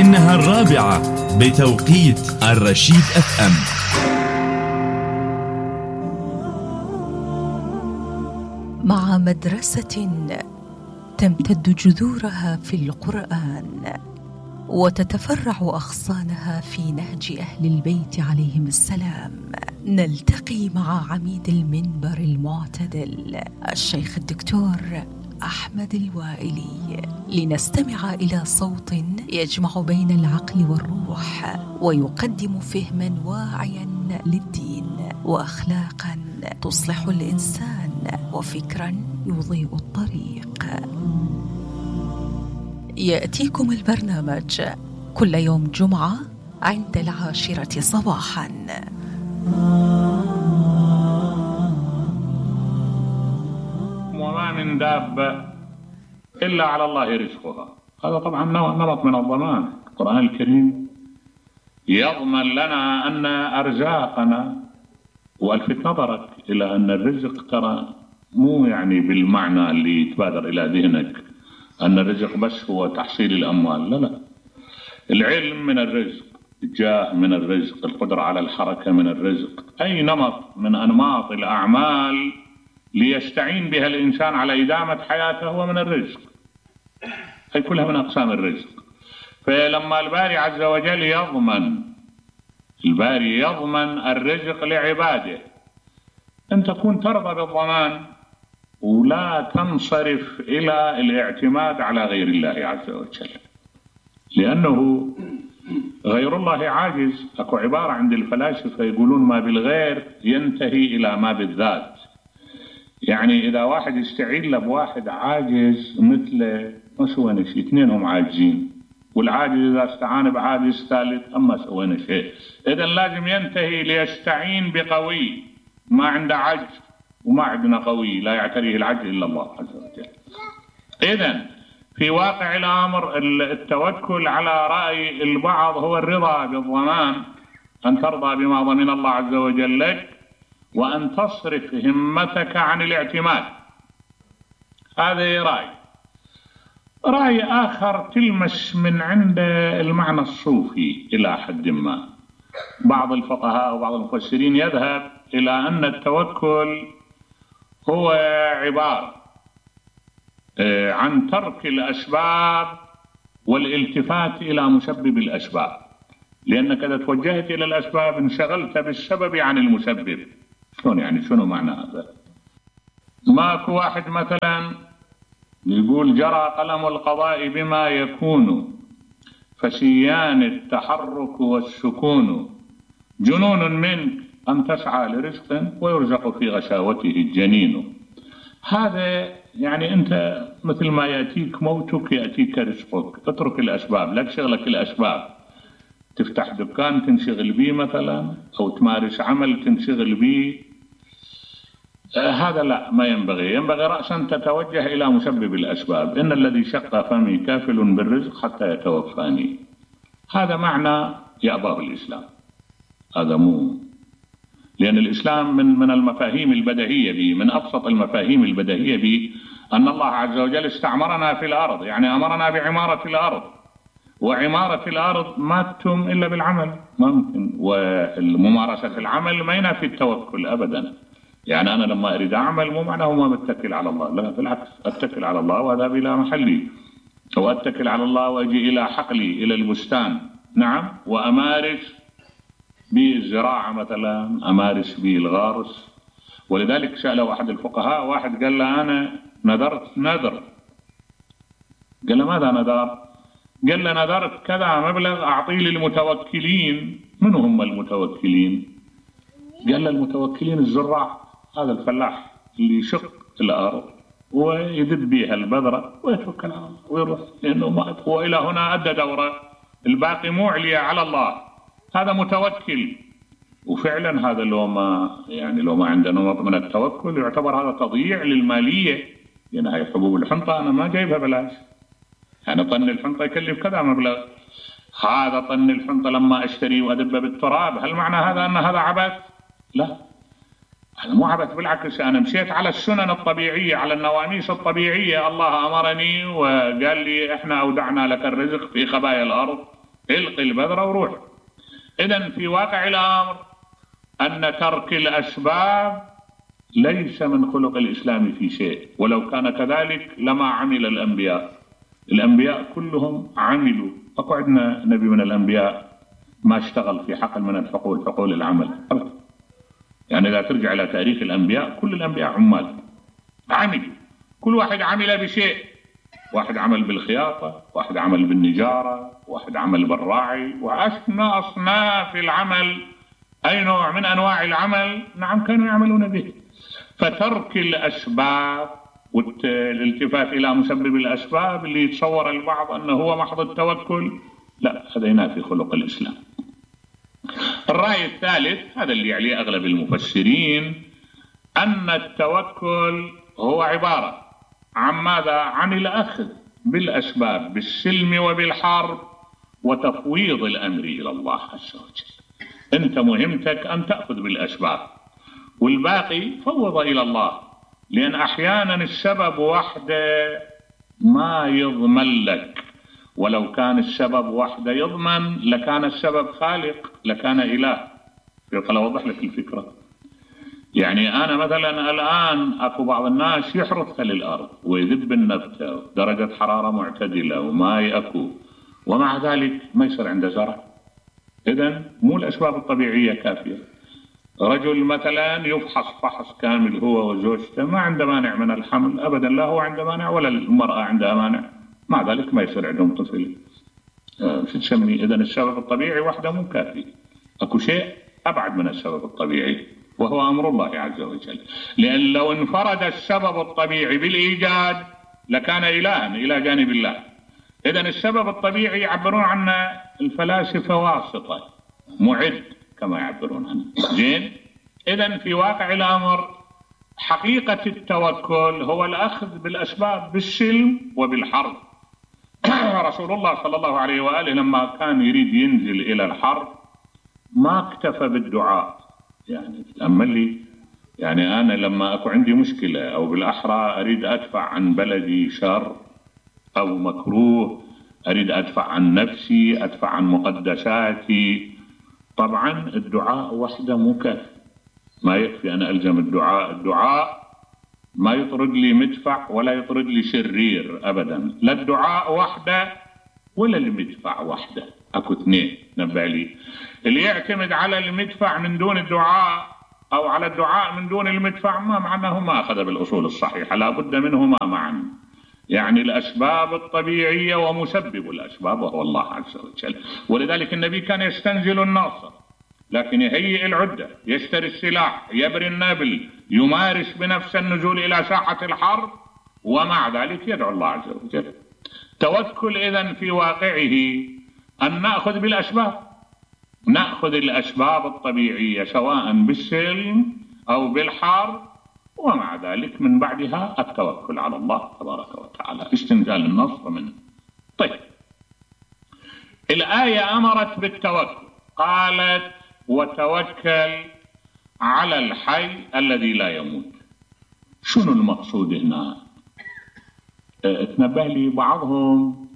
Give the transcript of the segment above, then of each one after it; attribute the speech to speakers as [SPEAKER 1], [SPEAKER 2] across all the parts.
[SPEAKER 1] إنها 4 بتوقيت الرشيد FM.
[SPEAKER 2] مع مدرسة تمتد جذورها في القرآن وتتفرع أغصانها في نهج أهل البيت عليهم السلام، نلتقي مع عميد المنبر المعتدل الشيخ الدكتور أحمد الوائلي لنستمع إلى صوت يجمع بين العقل والروح ويقدم فهما واعيا للدين وأخلاقا تصلح الإنسان وفكرا يضيء الطريق. يأتيكم البرنامج كل يوم جمعة عند 10 صباحا.
[SPEAKER 3] وما من دابة إلا على الله رزقها. هذا طبعا نمط من الضمان. القرآن الكريم يضمن لنا أن أرزاقنا، والفت نظرك إلى أن الرزق ترى مو يعني بالمعنى اللي يتبادر إلى ذهنك أن الرزق بس هو تحصيل الأموال، لا، العلم من الرزق، الجاه من الرزق، القدرة على الحركة من الرزق، أي نمط من أنماط الأعمال ليستعين بها الإنسان على إدامة حياته هو من الرزق، هي كلها من أقسام الرزق. فلما الباري عز وجل يضمن الرزق لعباده، أن تكون ترضى بالضمان ولا تنصرف إلى الاعتماد على غير الله عز وجل، لأنه غير الله عاجز. أكو عبارة عند الفلاسفة يقولون ما بالغير ينتهي إلى ما بالذات. يعني إذا واحد يستعين له بواحد عاجز مثله ما سوينا شيء، اثنينهم عاجزين، والعاجز إذا استعان بعاجز ثالث أما سوينا شيء. إذن لازم ينتهي ليستعين بقوي ما عنده عجز، وما عندنا قوي لا يعتريه العجز إلا الله عز وجل. إذن في واقع الأمر التوكل على رأي البعض هو الرضا بالضمان، أن ترضى بما ضمن الله عز وجل لك وأن تصرف همتك عن الاعتماد. هذا رأي آخر تلمس من عند المعنى الصوفي إلى حد ما. بعض الفقهاء وبعض المفسرين يذهب إلى أن التوكل هو عبارة عن ترك الأسباب والالتفات إلى مسبب الأسباب، لأنك إذا توجهت إلى الأسباب انشغلت بالسبب عن المسبب. شلون يعني؟ شنو معنى هذا؟ ماكو واحد مثلا يقول جرى قلم القضاء بما يكون فسيان التحرك والسكون، جنون منك أن تسعى لرزق ويرزق في غشاوته الجنين. هذا يعني أنت مثل ما يأتيك موتك يأتيك رزقك، اترك الأسباب، لا تشغلك الأسباب. تفتح دكان تنشغل به مثلا، أو تمارس عمل تنشغل به، هذا لا، ما ينبغي رأسا تتوجه إلى مسبب الأسباب. إن الذي شق فمي كافل بالرزق حتى يتوفاني. هذا معنى يأباه الإسلام، هذا مو، لأن الإسلام من المفاهيم البديهية به، من أبسط المفاهيم البديهية به أن الله عز وجل استعمرنا في الأرض، يعني أمرنا بعمارة الأرض، وعمارة الأرض ما تتم إلا بالعمل، ممكن، والممارسة العمل ما ينافي التوكل أبدا. يعني أنا لما أريد أعمل مو معناه ما بتكل على الله، لا بالعكس، أتكل على الله وأذهب إلى محلي، أو أتكل على الله وأجي إلى حقلي إلى البستان، نعم، وأمارس بالزراعة مثلا، أمارس بالغرس. ولذلك سأله أحد الفقهاء، واحد قال له أنا نذرت نذر. قال له ماذا نذر؟ قال له نذرت كذا مبلغ أعطيه للمتوكلين. من هم المتوكلين؟ قال له المتوكلين الزراع، هذا الفلاح اللي يشق الأرض ويدب بها البذرة ويتوكل على الله ويروح، لأنه ما هو إلى هنا أدى دوره، الباقي مو عليا على الله، هذا متوكل. وفعلا هذا لو ما عندنا نمط من التوكل يعتبر هذا تضييع للمالية، لأن هاي حبوب الحنطة أنا ما جايبها بلاش، يعني طن الحنطة يكلف كذا مبلغ، هذا طن الحنطة لما أشتري وأدبه بالتراب، هل معنى هذا أن هذا عبث؟ لا، هذا مو عبث، بالعكس أنا مشيت على السنن الطبيعية، على النواميس الطبيعية. الله أمرني وقال لي إحنا أودعنا لك الرزق في خبايا الأرض القي البذرة وروح. إذن في واقع الأمر أن ترك الأسباب ليس من خلق الإسلام في شيء، ولو كان كذلك لما عمل الأنبياء. الأنبياء كلهم عملوا. أكو عندنا نبي من الأنبياء ما اشتغل في حقل من الحقول، حقول العمل أبدا. يعني إذا ترجع إلى تاريخ الأنبياء كل الأنبياء عمال عملوا، كل واحد عمل بشيء. واحد عمل بالخياطة، واحد عمل بالنجارة، واحد عمل بالراعي، وأشنى أصناف العمل. أي نوع من أنواع العمل نعم كانوا يعملون به. فترك الأسباب والالتفات إلى مسبب الأسباب اللي يتصور البعض أنه هو محض التوكل، لا، هذا ينافي خلق الإسلام. الرأي الثالث هذا اللي عليه أغلب المفسرين، أن التوكل هو عبارة عن ماذا؟ عن الأخذ بالأسباب بالسلم وبالحرب وتفويض الأمر إلى الله عز وجل. أنت مهمتك أن تأخذ بالأسباب والباقي فوض إلى الله، لأن أحيانا السبب وحده ما يضمن لك، ولو كان السبب وحده يضمن لكان السبب خالق، لكان إله. خل أوضح لك الفكرة. يعني أنا مثلا الآن أكو بعض الناس يحرث خل الأرض ويذب النبتة درجة حرارة معتدلة وماء أكو، ومع ذلك ما يصير عنده زرع. إذن مو الأسباب الطبيعية كافية. رجل مثلا يفحص فحص كامل هو وزوجته ما عنده مانع من الحمل أبدا، لا هو عنده مانع ولا المرأة عندها مانع، مع ذلك ما يصير عندهم طفل. شو تسميه؟ إذن السبب الطبيعي وحده مو كافي، أكو شيء أبعد من السبب الطبيعي وهو أمر الله عز وجل. لأن لو انفرد السبب الطبيعي بالإيجاد لكان إلها إلى جانب الله. إذن السبب الطبيعي يعبرون عنه الفلاسفة واسطة، معد كما يعبرون عنه. زين؟ إذن في واقع الأمر حقيقة التوكل هو الأخذ بالأسباب بالسلم وبالحرب. رسول الله صلى الله عليه وآله لما كان يريد ينزل إلى الحرب ما اكتفى بالدعاء. يعني تأمل لي، يعني أنا لما أكو عندي مشكلة أو بالأحرى أريد أدفع عن بلدي شر أو مكروه، أريد أدفع عن نفسي، أدفع عن مقدساتي، طبعا الدعاء وحده مو كافي، ما يكفي أنا ألزم الدعاء. الدعاء ما يطرد لي مدفع ولا يطرد لي شرير أبدا، لا الدعاء وحده ولا المدفع وحده، أكو اثنين. نبع لي اللي يعتمد على المدفع من دون الدعاء أو على الدعاء من دون المدفع ما معناه ما أخذ بالأصول الصحيحة، لا بد منهما معا. يعني الأسباب الطبيعية ومسبب الأسباب وهو الله عز وجل. ولذلك النبي كان يستنزل الناصر لكن يهيئ العدة، يشتري السلاح، يبري النابل، يمارس بنفس النزول إلى ساحة الحرب، ومع ذلك يدعو الله عز وجل. توكل إذن في واقعه أن نأخذ بالأسباب، نأخذ الأسباب الطبيعية سواء بالسلم أو بالحرب، ومع ذلك من بعدها التوكل على الله تبارك وتعالى، استنزال النصر منه. طيب، الآية أمرت بالتوكل، قالت وتوكل على الحي الذي لا يموت. شنو المقصود هنا؟ تنبه لي بعضهم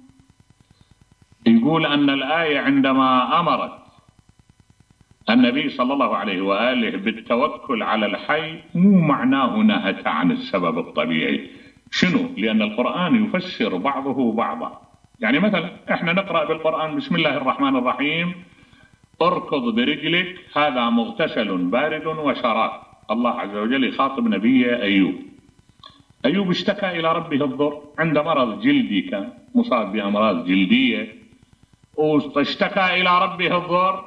[SPEAKER 3] يقول أن الآية عندما أمرت النبي صلى الله عليه وآله بالتوكل على الحي مو معناه نهت عن السبب الطبيعي. شنو؟ لأن القرآن يفسر بعضه بعضا. يعني مثلا احنا نقرأ بالقرآن بسم الله الرحمن الرحيم اركض برجلك هذا مغتسل بارد وشراب. الله عز وجل يخاطب نبيه أيوب. أيوب اشتكى إلى ربه الضر، عند مرض جلدي، كان مصاب بأمراض جلدية واشتكى إلى ربه الضر.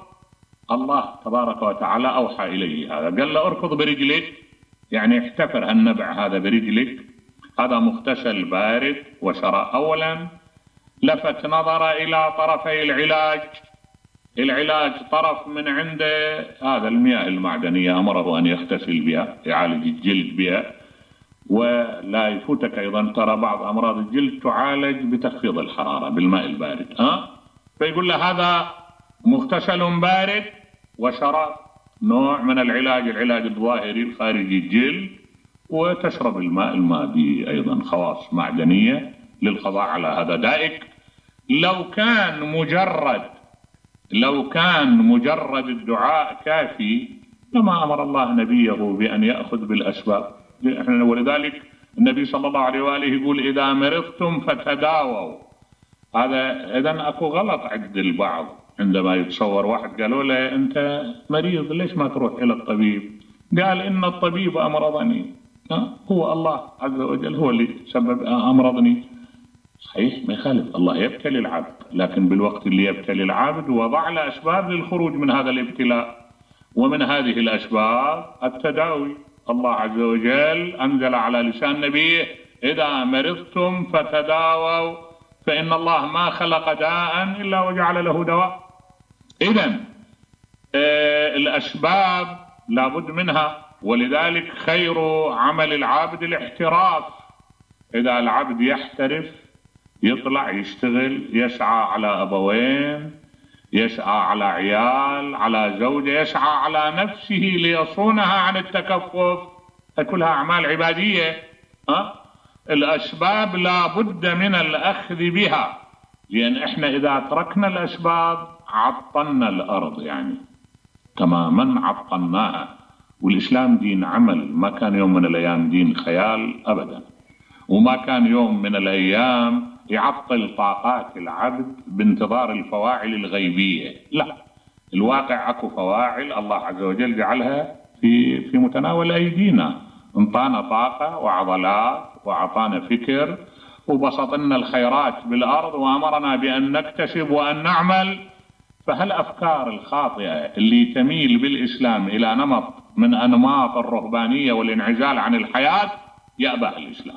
[SPEAKER 3] الله تبارك وتعالى أوحى إليه هذا، قال له اركض برجلك، يعني احتفر هالنبع هذا برجلك، هذا مغتسل بارد وشراب. أولا لفت نظر إلى طرفي العلاج طرف من عنده هذا المياه المعدنية أمره أن يغتسل بها، يعالج الجلد بها. ولا يفوتك أيضا ترى بعض أمراض الجلد تعالج بتخفيض الحرارة بالماء البارد. فيقول له هذا مغتسل بارد وشراب، نوع من العلاج الظاهري الخارجي الجلد، وتشرب الماء به أيضا خواص معدنية للقضاء على هذا دائك. لو كان مجرد لو كان مجرد الدعاء كافي لما أمر الله نبيه بأن يأخذ بالأسباب. ولذلك النبي صلى الله عليه وآله يقول إذا مرضتم فتداووا. هذا إذن أكو غلط عند البعض عندما يتصور واحد قالوا له أنت مريض ليش ما تروح إلى الطبيب؟ قال إن الطبيب أمرضني. هو الله عز وجل هو اللي سبب أمرضني. صحيح ما يخالف، الله يبتلي العبد، لكن بالوقت اللي يبتلي العبد وضع له أسباب للخروج من هذا الابتلاء، ومن هذه الأسباب التداوي. الله عز وجل أنزل على لسان نبيه إذا مرضتم فتداووا فإن الله ما خلق داء إلا وجعل له دواء. إذن الأسباب لابد منها، ولذلك خير عمل العبد الاحتراف. إذا العبد يحترف يطلع يشتغل، يسعى على أبوين، يسعى على عيال، على زوجة، يسعى على نفسه ليصونها عن التكفف، كلها أعمال عبادية. الأسباب لا بد من الأخذ بها، لأن إحنا إذا تركنا الأسباب عطلنا الأرض، يعني تماما عطلناها. والإسلام دين عمل، ما كان يوم من الأيام دين خيال أبدا، وما كان يوم من الأيام يعطل طاقات العبد بانتظار الفواعل الغيبية. لا، الواقع أكو فواعل الله عز وجل جعلها في متناول أيدينا، انطانا طاقة وعضلات وأعطانا فكر وبسط لنا الخيرات بالأرض وأمرنا بأن نكتسب وأن نعمل. فهالأفكار الخاطئة اللي تميل بالإسلام إلى نمط من أنماط الرهبانية والانعزال عن الحياة يأبى الإسلام.